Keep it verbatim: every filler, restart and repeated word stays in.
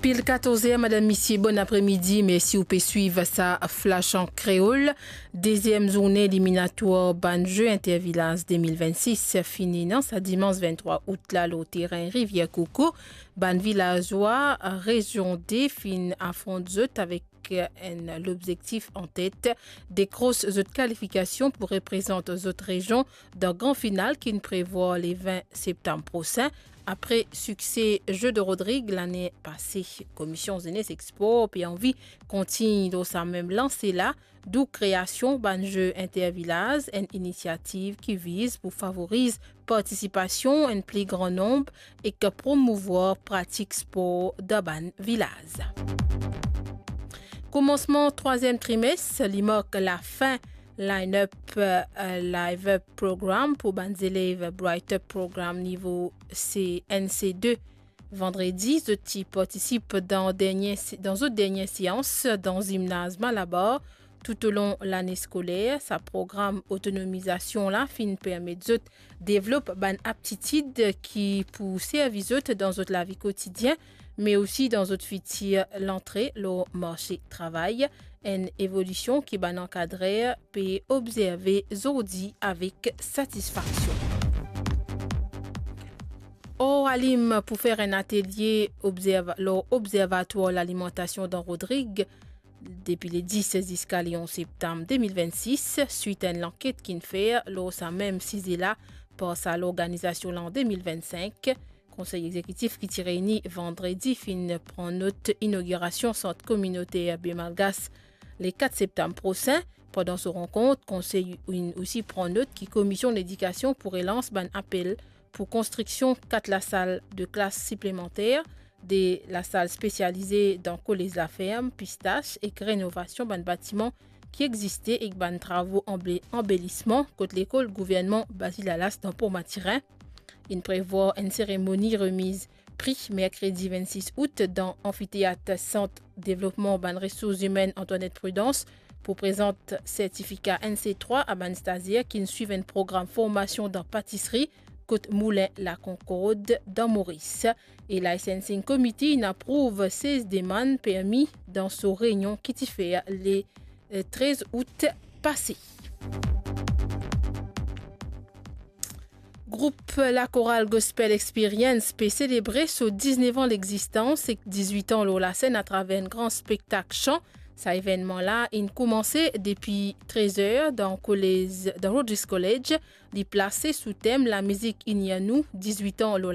Il katorz er, madam, misie, bon apremidi. Mersi ou pe swiv sa Flash an Kreol. Deziem zourne eliminatwar bann Ze Intervilaz de mil vennsis finn ena sa dimans venntrwa out la lor terin Rivier Coco. Bann vilazwa rezion de finn afront zot avek enn lobzektif an tet, dekros zot kalifikasion pou reprezant zot rezion dan gran final ki'nn prevwar le vin septam prosin. Apre sikse Ze de Rodrig lane pase, Komisyon Zenes ek Spor pe anvi kontign dan sa mem lanse la, dou kreasion bann Ze Intervilaz, enn inisiativ ki viz pou favoriz partisipasion enn pli gran nonb ek promouvwar pratik spor dan bann vilaz. Koumansman trwaziem trimes, li mark lafin Line Up, eh, Live Up Program pou bann zelev Bright Up Program nivo C, N C de. Vandredi, zot ti partisip dan dernie se-, dan zot dernie seans dan zimnaz Malabar. Toutolong lane skoler, sa program otonomizasion la finn permet zot devlop bann aptitid ki pou servi zot dan zot lavi kotidien, me osi dan zot fitir lantre lor marse travay, enn evolision ki bann ankadrer pe obzerve zordi avek satisfaksion. Oralim pou fer enn atelie obzerva-, lor Obzervatwar Lalimantasion dan Rodrig, depi le dis ziska le onz septam de mil vennsis, swit enn lanket ki'nn fer lor sa mem size la par sa lorganizasion la an de mil vennsink. Konsey Egzekitif ki ti reyni vandredi finn pran not inogirasion Sant Kominoter Be Malgas le kat septam prosin. Pandan so rankont, konsey inn osi pran not ki Komisyon Ledikasion pou relans bann apel pou konstriksion kat lasal de klas siplemanter, de lasal spesialize dan Kolez Laferm, Pistas, ek renovasion bann batiman ki existe ek bann travo anbe-, anbelisman kot lekol gouvernman Bazil Alas dan Port Mathurin. Inn prevwar enn seremoni remiz pri merkredi vennsis out dan anfiteat Sant Devlopman Bann Resours Imenn Antoinette Prudence pou prezant sertifika N C trwa a bann stazier ki'nn swiv enn program formasion dan patisri kot Moulin La Concorde dan Moris. E Licensing Committee inn aprouv sez demann permi dan so reynion ki ti fer le, eh, trez out pase. Group Lakoral Gospel Experience pe selebre so diznef an lexistans ek dizwit an lor lasenn atraver enn gran spektak san. Sa evennman la inn koumanse depi trez er dan kolez, dan Rhodes College. Li plase sou tem Lamizik Ini Anou, dizwit an lor